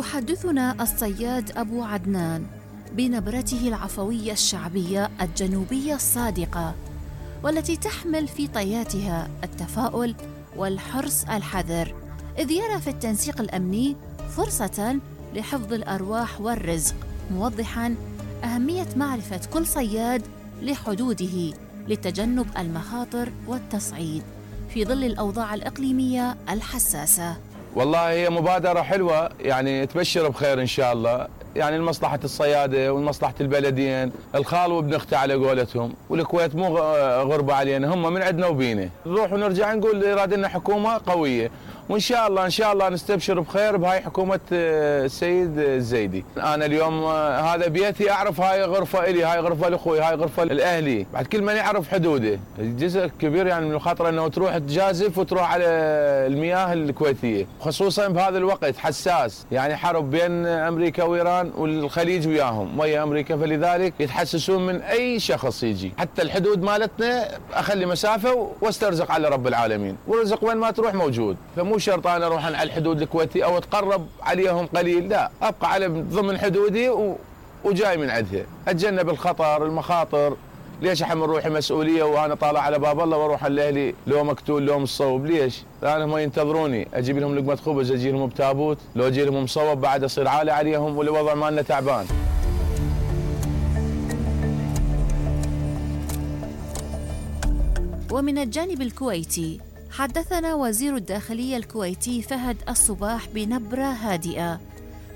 يحدثنا الصياد أبو عدنان بنبرته العفوية الشعبية الجنوبية الصادقة، والتي تحمل في طياتها التفاؤل والحرص الحذر، إذ يرى في التنسيق الأمني فرصة لحفظ الأرواح والرزق، موضحاً أهمية معرفة كل صياد لحدوده لتجنب المخاطر والتصعيد في ظل الأوضاع الإقليمية الحساسة. والله هي مبادرة حلوة، يعني تبشر بخير إن شاء الله، يعني لمصلحة الصيادة ولمصلحة البلدين، الخال وابن اخته على قولتهم، والكويت مو غربة علينا، هم من عندنا وبينا، نروح ونرجع نقول يراد لنا حكومة قوية، وإن شاء الله نستبشر بخير بهاي حكومة السيد الزيدي. أنا اليوم هذا بيتي، أعرف هاي غرفة إلي، هاي غرفة لأخوي، هاي غرفة لأهلي، بعد كل من يعرف حدوده، جزء كبير يعني من الخطر أنه تروح تجازف وتروح على المياه الكويتية، خصوصا بهذا الوقت حساس، يعني حرب بين أمريكا وإيران والخليج وياهم ويا أمريكا، فلذلك يتحسسون من أي شخص يجي، حتى الحدود مالتنا أخلي مسافة واسترزق على رب العالمين، والرزق وين ما تروح موجود، فمو شرط أنا أروح على الحدود الكويتية أو أتقرب عليهم قليل، لا، أبقى على ضمن حدودي وجاي من عندها، أتجنب الخطر المخاطر. ليش أحمل روحي مسؤولية وأنا طالع على باب الله وأروح لأهلي لو مقتول لو مصوب؟ ليش؟ لأن هم ينتظروني، أجيب لهم لقمة خبز، أجي لهم بتابوت، لو أجي لهم مصوب بعد أصير عالي عليهم والوضع مالنا تعبان. ومن الجانب الكويتي حدثنا وزير الداخلية الكويتي فهد الصباح بنبرة هادئة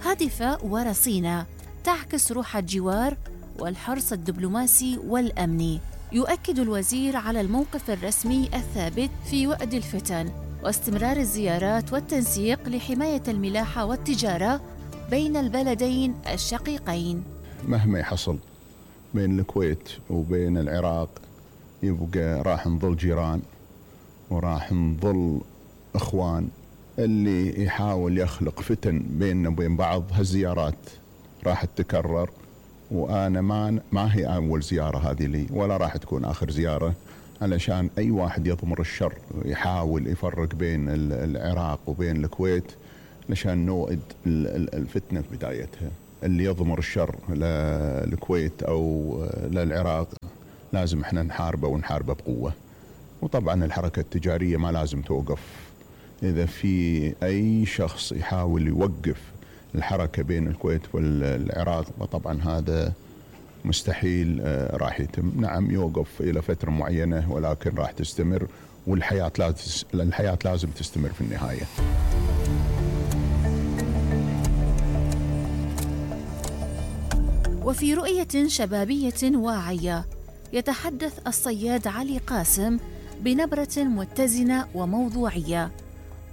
هادفة ورصينة تعكس روح الجوار والحرص الدبلوماسي والأمني. يؤكد الوزير على الموقف الرسمي الثابت في وقت الفتن واستمرار الزيارات والتنسيق لحماية الملاحة والتجارة بين البلدين الشقيقين. مهما يحصل بين الكويت وبين العراق يبقى راح نظل جيران وراح نظل اخوان. اللي يحاول يخلق فتن بيننا وبين بعض هالزيارات راح تتكرر، وانا ما هي اول زياره هذه لي ولا راح تكون اخر زياره، علشان اي واحد يضمر الشر يحاول يفرق بين العراق وبين الكويت علشان نوئد الفتنه في بدايتها. اللي يضمر الشر للكويت او للعراق لازم احنا نحاربه ونحاربه بقوه. وطبعا الحركه التجاريه ما لازم توقف. اذا في اي شخص يحاول يوقف الحركه بين الكويت والعراق فطبعا هذا مستحيل راح يتم. نعم يوقف الى فتره معينه ولكن راح تستمر، والحياه لازم تستمر في النهايه. وفي رؤية شبابية واعية يتحدث الصياد علي قاسم بنبرة متزنة وموضوعية،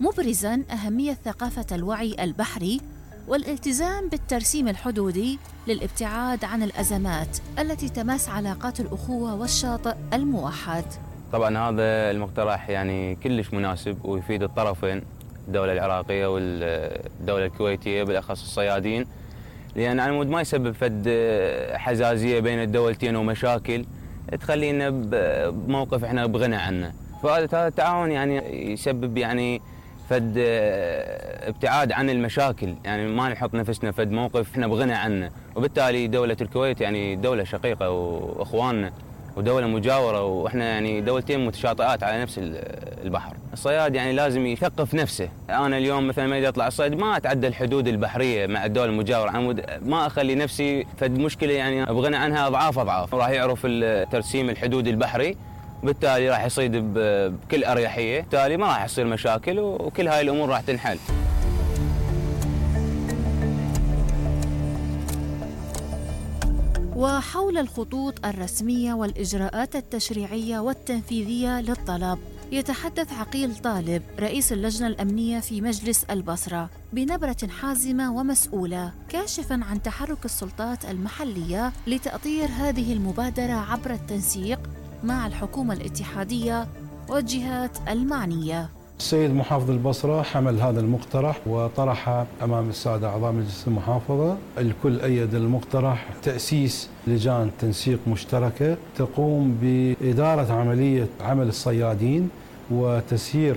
مبرزاً أهمية ثقافة الوعي البحري والالتزام بالترسيم الحدودي للابتعاد عن الأزمات التي تمس علاقات الأخوة والشاطئ الموحد. طبعاً هذا المقترح يعني كلش مناسب ويفيد الطرفين، الدولة العراقية والدولة الكويتية بالأخص الصيادين، لأن على مود ما يسبب فد حزازية بين الدولتين ومشاكل تخلينا بموقف احنا بغنى عنه. فهذا التعاون يعني يسبب يعني فد ابتعاد عن المشاكل، يعني ما نحط نفسنا فد موقف احنا بغنى عنه. وبالتالي دولة الكويت يعني دولة شقيقة واخواننا ودولة مجاورة، واحنا يعني دولتين متشاطئات على نفس البحر. الصياد يعني لازم يثقف نفسه. انا اليوم مثلا ما اطلع الصيد ما اتعدى الحدود البحرية مع الدولة المجاورة، ما اخلي نفسي فد مشكلة يعني ابغنى عنها اضعاف. راح يعرف ترسيم الحدود البحري، بالتالي راح يصيد بكل اريحية، بالتالي ما راح يصير مشاكل وكل هاي الامور راح تنحل. وحول الخطوط الرسمية والإجراءات التشريعية والتنفيذية للطلب يتحدث عقيل طالب رئيس اللجنة الأمنية في مجلس البصرة بنبرة حازمة ومسؤولة، كاشفاً عن تحرك السلطات المحلية لتأطير هذه المبادرة عبر التنسيق مع الحكومة الاتحادية والجهات المعنية. السيد محافظ البصرة حمل هذا المقترح وطرحه أمام السادة أعضاء مجلس المحافظة. الكل أيد المقترح تأسيس لجان تنسيق مشتركة تقوم بإدارة عملية عمل الصيادين وتسيير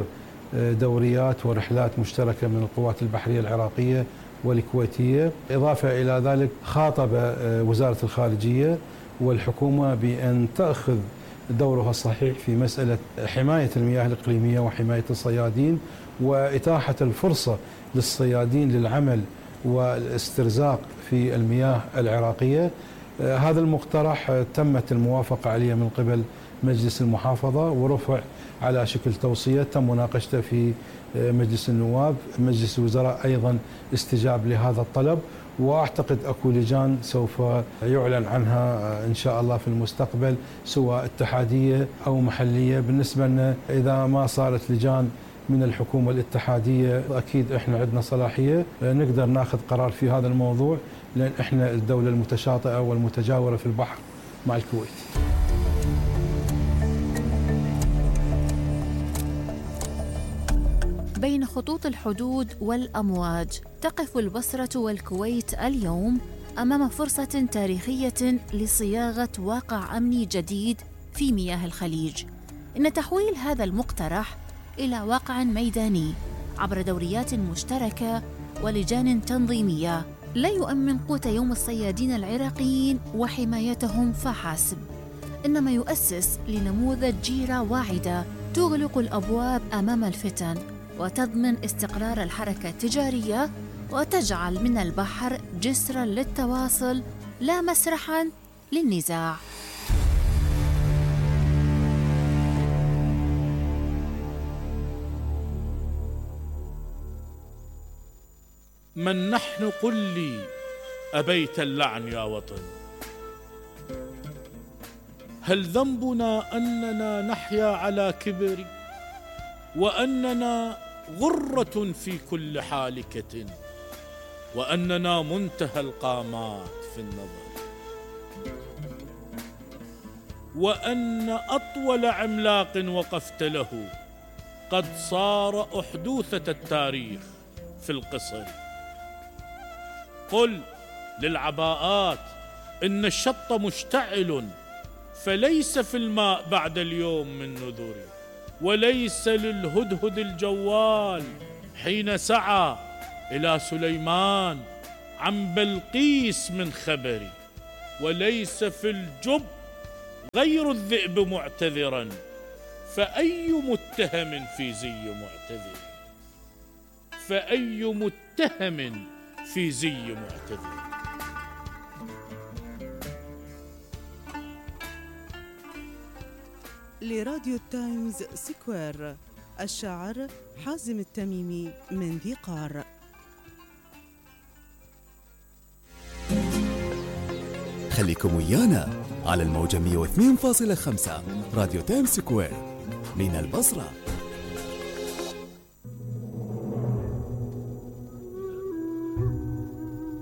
دوريات ورحلات مشتركة من القوات البحرية العراقية والكويتية. إضافة إلى ذلك خاطب وزارة الخارجية والحكومة بأن تأخذ دورها الصحيح في مسألة حماية المياه الإقليمية وحماية الصيادين، وإتاحة الفرصة للصيادين للعمل والاسترزاق في المياه العراقية. هذا المقترح تمت الموافقة عليه من قبل مجلس المحافظة ورفع على شكل توصية، تم مناقشته في مجلس النواب. مجلس الوزراء أيضا استجاب لهذا الطلب، وأعتقد أكو لجان سوف يعلن عنها إن شاء الله في المستقبل، سواء اتحادية أو محلية. بالنسبة لنا إذا ما صارت لجان من الحكومة الاتحادية أكيد إحنا عندنا صلاحية نقدر ناخذ قرار في هذا الموضوع، لأن إحنا الدولة المتشاطئة والمتجاورة في البحر مع الكويت. بين خطوط الحدود والأمواج تقف البصرة والكويت اليوم أمام فرصة تاريخية لصياغة واقع أمني جديد في مياه الخليج. إن تحويل هذا المقترح إلى واقع ميداني عبر دوريات مشتركة ولجان تنظيمية لا يؤمن قوت يوم الصيادين العراقيين وحمايتهم فحسب، إنما يؤسس لنموذج جيرة واعدة تغلق الأبواب أمام الفتن وتضمن استقرار الحركة التجارية وتجعل من البحر جسراً للتواصل لا مسرحاً للنزاع. من نحن قل لي أبيت اللعن يا وطن؟ هل ذنبنا أننا نحيا على كبر وأننا غرة في كل حالكة وأننا منتهى القامات في النظر وأن أطول عملاق وقفت له قد صار أحدوثة التاريخ في القصر؟ قل للعباءات إن الشط مشتعل فليس في الماء بعد اليوم من نذر، وليس للهدهد الجوال حين سعى إلى سليمان عن بلقيس من خبر، وليس في الجب غير الذئب معتذرا، فأي متهم في زي معتذر، فأي متهم في زي معتذر. لراديو تايمز سكوير، الشاعر حازم التميمي من ذي قار. خليكم ويانا على الموجة 102.5 راديو تايمز سكوير من البصرة.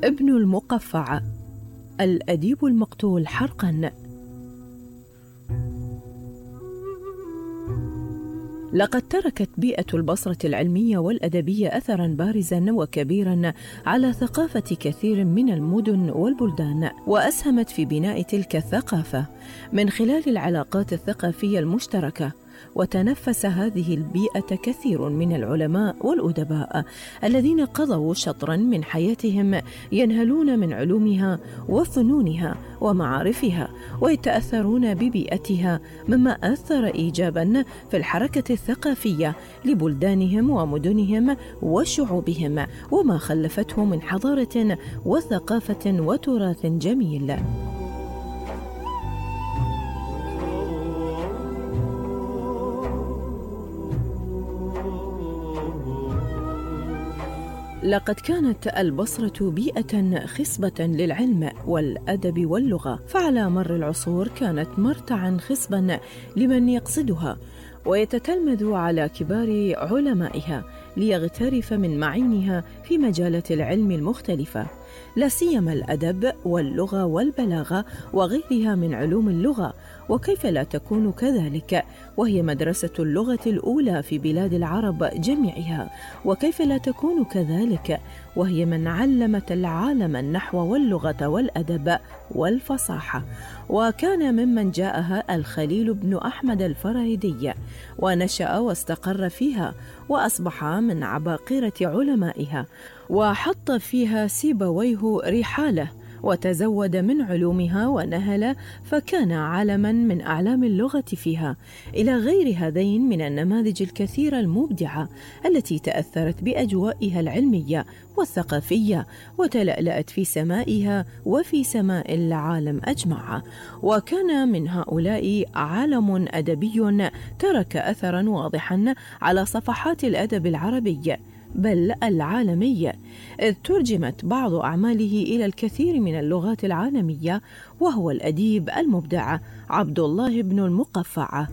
ابن المقفع، الأديب المقتول حرقاً. لقد تركت بيئة البصرة العلمية والأدبية أثراً بارزاً وكبيراً على ثقافة كثير من المدن والبلدان، وأسهمت في بناء تلك الثقافة من خلال العلاقات الثقافية المشتركة. وتنفس هذه البيئة كثير من العلماء والأدباء الذين قضوا شطراً من حياتهم ينهلون من علومها وفنونها ومعارفها ويتأثرون ببيئتها، مما أثر إيجاباً في الحركة الثقافية لبلدانهم ومدنهم وشعوبهم، وما خلفته من حضارة وثقافة وتراث جميل. لقد كانت البصرة بيئة خصبة للعلم والأدب واللغة، فعلى مر العصور كانت مرتعا خصبا لمن يقصدها ويتتلمذ على كبار علمائها ليغترف من معينها في مجالات العلم المختلفة. لا سيما الأدب واللغة والبلاغة وغيرها من علوم اللغة. وكيف لا تكون كذلك وهي مدرسة اللغة الأولى في بلاد العرب جميعها؟ وكيف لا تكون كذلك وهي من علمت العالم النحو واللغة والأدب والفصاحة؟ وكان ممن جاءها الخليل بن أحمد الفراهيدي، ونشأ واستقر فيها، وأصبح من عباقرة علمائها، وحط فيها سيبويه رحاله، وتزود من علومها ونهل، فكان علما من أعلام اللغة فيها، إلى غير هذين من النماذج الكثيرة المبدعة التي تأثرت بأجوائها العلمية والثقافية وتلألأت في سمائها وفي سماء العالم أجمع. وكان من هؤلاء عالم أدبي ترك أثرا واضحا على صفحات الأدب العربي بل العالمية، إذ ترجمت بعض أعماله إلى الكثير من اللغات العالمية، وهو الأديب المبدع عبد الله بن المقفع.